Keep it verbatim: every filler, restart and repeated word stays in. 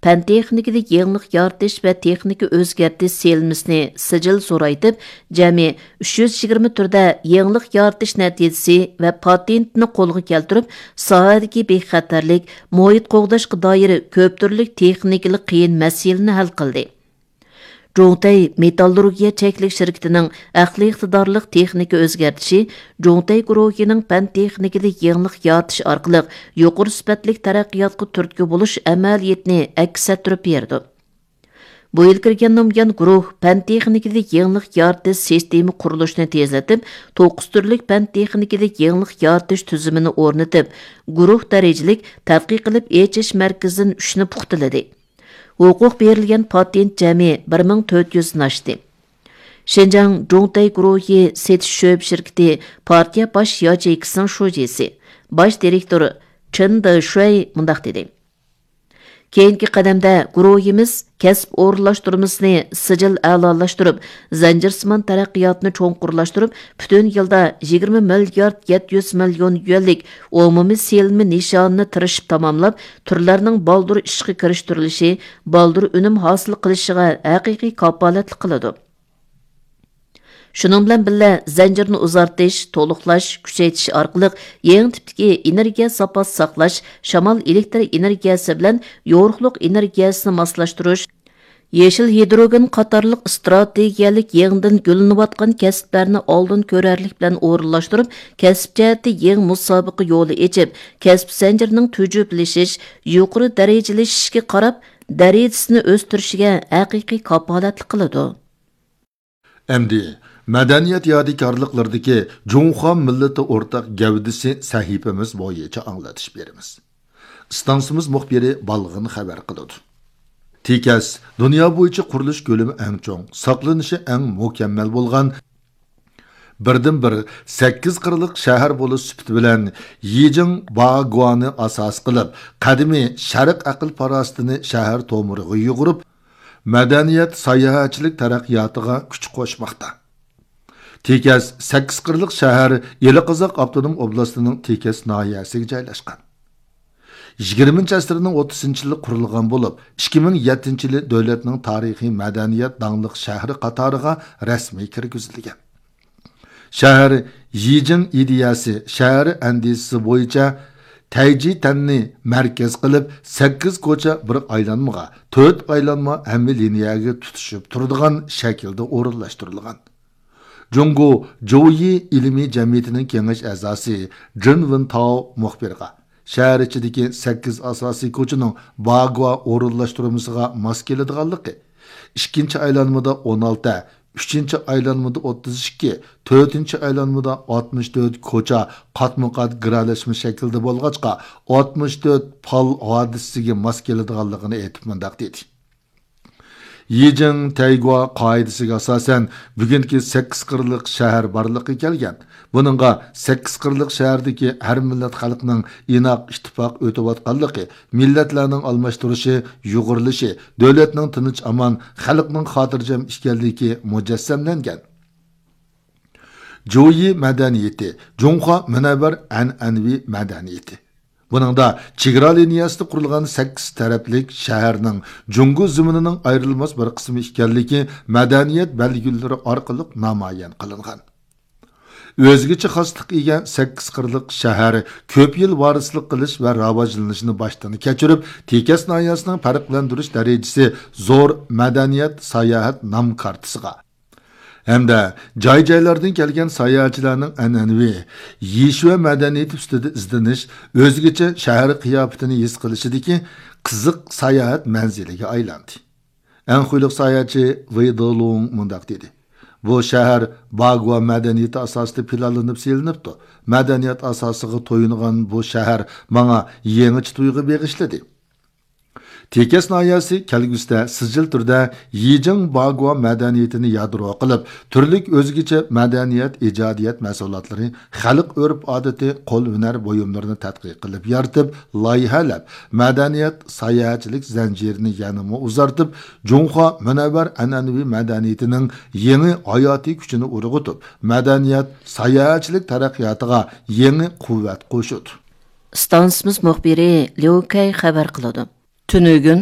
پەن تېخنىكىدا يېڭىلىق يارىتىش ۋە تېخنىكا ئۆزگەرتىش سېلىنمىسىنى سىجىل زورايتىپ، جەمئىي ئۈچ يۈز يىگىرمە تۈردە يېڭىلىق يارىتىش نەتىجىسى ۋە پاتېنتنى قولغا كەلتۈرۈپ، ساھەدىكى بىخەتەرلىك، مۇھىت قوغداشقا دائىر كۆپ تۈرلۈك تېخنىكىلىق قىيىن مەسىلىنى ھەل قىلدى. جۇڭتەي مېتاللۇرگىيە چەكلىك شىركىتىنىڭ ئەقلىي ئىقتىدارلىق تېخنىكا ئۆزگەرتىشى جۇڭتەي گۇرۇھىنىڭ پەن تېخنىكىدا يېڭىلىق يارىتىش ئارقىلىق يۇقىرى سۈپەتلىك تەرەققىياتقا تۈرتكە بولۇش ئەمەلىيىتىنى ئەكس ئەتتۈرۈپ بېرىدۇ. بۇ يىل كىرگەندىن بۇيان، گۇرۇھ پەن تېخنىكىدا يېڭىلىق يارىتىش سىستېما قۇرۇلۇشىنى تېزلىتىپ، توققۇز تۈرلۈك پەن تېخنىكىدا يېڭىلىق يارىتىش تۈزۈمىنى ئورنىتىپ، گۇرۇھ دەرىجىلىك تەتقىق قىلىپ ئېچىش مەركىزىدىن ئۈچنى پۇختىلىدى. ھوقۇق بېرىلگەن پاتېنت جەمئىي بىر مىڭ تۆت يۈزدىن ئاشتى. شىنجاڭ جۇڭتەي گۇرۇھى سېتىش شۆبە شىركىتى پارتىيە باش ياچېيكىسىنىڭ شۇجىسى، باش دىرېكتورى چېن دېشۈەي مۇنداق دېدى: كېيىنكى قەدەمدە گۇرۇھىمىز كەسىپ ئورۇنلاشتۇرمىسىنى سىجىل ئەلالاشتۇرۇپ، زەنجىرسىمان تەرەققىياتنى چوڭقۇرلاشتۇرۇپ، پۈتۈن يىلدا يىگىرمە مىليارد يەتتە يۈز مىليون يۈەنلىك ئومۇمىي سېلىنما نىشانىنى تىرىشىپ تاماملاپ، تۈرلەرنىڭ بالدۇر ئىشقا كىرىشتۈرۈلۈشى، بالدۇر ئۈنۈم ھاسىل قىلىشىغا ھەقىقىي كاپالەتلىك قىلىدۇ. شۇنىڭ بىلەن بىللە، زەنجىرنى ئۇزارتىش، تولۇقلاش، كۈچەيتىش ئارقىلىق يېڭى تىپتىكى ئېنېرگىيە زاپاسى ساقلاش، شامال ئېلېكتر ئېنېرگىيەسى بىلەن يورۇقلۇق ئېنېرگىيەسىنى ماسلاشتۇرۇش، يېشىل ھىدروگېن قاتارلىق ئىستراتېگىيەلىك يېڭىدىن گۈللىنىۋاتقان كەسىپلەرنى ئالدىن كۆرەرلىك بىلەن ئورۇنلاشتۇرۇپ، كەسىپ جەھەتتە يېڭى مۇسابىقە يولى ئېچىپ، كەسىپ زەنجىرىنىڭ تۈجۈپلىشىش، يۇقىرى دەرىجىلىشىشكە قاراپ، دەرىجىسىنى ئۆستۈرۈشىگە ھەقىقىي كاپالەتلىك قىلىدۇ. ئەمدى مەدەنىيەت يادىكارلىقلىرىدىكى جۇڭخۇا مىللىتى ئورتاق گەۋدىسى سەھىپىمىز بويىچە ئاڭلىتىش بېرىمىز. ئىستانسىمىز مۇخبىرى بالغىن خەۋەر قىلىدۇ. تېكەس دۇنيا بويىچە قۇرۇلۇش كۆلىمى ئەڭ چوڭ، ساقلىنىشى ئەڭ مۇكەممەل بولغان بىردىنبىر سەككىز قىرلىق شەھەر بولۇش سۈپىتى بىلەن يىجىڭ باگۇانى ئاساس قىلىپ، قەدىمىي شەرق ئەقىل-پاراسىتىنى شەھەر تومۇرىغا يۇغۇرۇپ، مەدەنىيەت، ساياھەتچىلىك تەرەققىياتىغا كۈچ قوشماقتا. تېكەس سەككىز قىرلىق شەھەر ئىلى قازاق ئاپتونوم ئوبلاستىنىڭ تېكەس ناھىيەسىگە جايلاشقان. يىگىرمىنچى ئەسىرنىڭ ئوتتۇزىنچى يىلى قۇرۇلغان بولۇپ، ئىككى مىڭ يەتتىنچى يىلى دۆلەتنىڭ تارىخىي مەدەنىيەت داڭلىق شەھىرى قاتارىغا رەسمىي كىرگۈزۈلگەن. شەھەر يىجىڭ ئىدىيەسى، شەھەر ئەندىزىسى بويىچە تەيجى تەننى مەركەز قىلىپ، سەككىز كوچا بىر ئايلانمىغا، تۆت ئايلانما ھەممە لىنىيەگە تۇتىشىپ تۇرىدىغان شەكىلدە ئورۇنلاشتۇرۇلغان. جۇڭگو جويى ئىلمىي جەمئىيىتىنىڭ كېڭەش ئەزاسى جېن ۋېنتاۋ مۇخبىرغا، شەھەر ئىچىدىكى سەككىز ئاساسىي كوچىنىڭ باگۇا ئورۇنلاشتۇرمىسىغا ماس كېلىدىغانلىقى، ئىككىنچى ئايلانمىدا ئون ئالتە، ئۈچىنچى ئايلانمىدا ئوتتۇز ئىككى، تۆتىنچى ئايلانمىدا ئاتمىش تۆت كوچا قاتمۇ قات گىرەلەشمە شەكلىدە بولغاچقا، ئاتمىش تۆت پال ھادىسىسىگە ماس كېلىدىغانلىقىنى ئېيتىپ مۇنداق دېدى. يىجىڭ تەيگۇا قائىدىسىگە ئاساسەن، بۈگۈنكى سەككىز قىرلىق شەھەر بارلىققا كەلگەن. بۇنىڭغا سەككىز قىرلىق شەھەردىكى ھەر مىللەت خەلقنىڭ ئىناق، ئىتتىپاق ئۆتۈۋاتقانلىقى، مىللەتلەرنىڭ ئالماشتۇرۇشى، يۇغۇرۇلۇشى، دۆلەتنىڭ تىنچ-ئامان، خەلقنىڭ خاتىرجەم ئىكەنلىكى مۇجەسسەملەنگەن. جويى مەدەنىيىتى، جۇڭخۇا مۇنەۋۋەر ئەنئەنىۋى مەدەنىيىتى. بۇنىڭدا چېگرا لىنىيەسىدە قۇرۇلغان سەككىز تەرەپلىك شەھەرنىڭ جۇڭگو زېمىنىنىڭ ئايرىلماس بىر قىسمى ئىكەنلىكى مەدەنىيەت بەلگىلىرى ئارقىلىق نامايان قىلىنغان. ئۆزگىچە خاسلىققا ئىگە سەككىز قىرلىق شەھەر كۆپ يىل ۋارىسلىق قىلىش ۋە راۋاجلىنىشنى باشتىن كەچۈرۈپ، تېكەس ناھىيەسىنىڭ پەرقلەندۈرۈش دەرىجىسى زور مەدەنىيەت ساياھەت نام كارتىسىغا، ھەمدە جاي-جايلاردىن كەلگەن ساياھەتچىلەرنىڭ ئەنئەنىۋى يىشۇە مەدەنىيىتى ئۈستىدە ئىزدىنىش، ئۆزگىچە شەھەر قىياپىتىنى ھېس قىلىشىدىكى قىزىق ساياھەت مەنزىلىگە ئايلاندى. ئەنخۇيلۇق ساياھەتچى ۋېي دېلۇڭ مۇنداق دېدى: بۇ شەھەر باگۇا مەدەنىيىتى ئاساسىدا پىلانلىنىپ سېلىنىپتۇ. مەدەنىيەت ئاساسىغا تويۇنغان بۇ شەھەر ماڭا يېڭىچە تۇيغۇ بېغىشلىدى. تېكەس ناھىيەسى كەلگۈسىدە سىجىل تۈردە يىجىڭ باگۇا مەدەنىيىتىنى يادرو قىلىپ، تۈرلۈك ئۆزگىچە مەدەنىيەت، ئىجادىيەت مەھسۇلاتلىرى، خەلق ئۆرپ-ئادىتى، قول ھۈنەر بۇيۇملىرىنى تەتقىق قىلىپ يارىتىپ، لايىھەلەپ، مەدەنىيەت، ساياھەتچىلىك زەنجىرىنى يەنىمۇ ئۇزارتىپ، جۇڭخۇا مۇنەۋۋەر ئەنئەنىۋى مەدەنىيىتىنىڭ يېڭى ھاياتىي كۈچىنى ئۇرغۇتۇپ، مەدەنىيەت، ساياھەتچىلىك تەرەققىياتىغا يېڭى قۇۋۋەت قوشىدۇ. ئىستانسىمىز مۇخبىرى ليۇ كەي خەۋەر قىلىدۇ. تۈنۈگۈن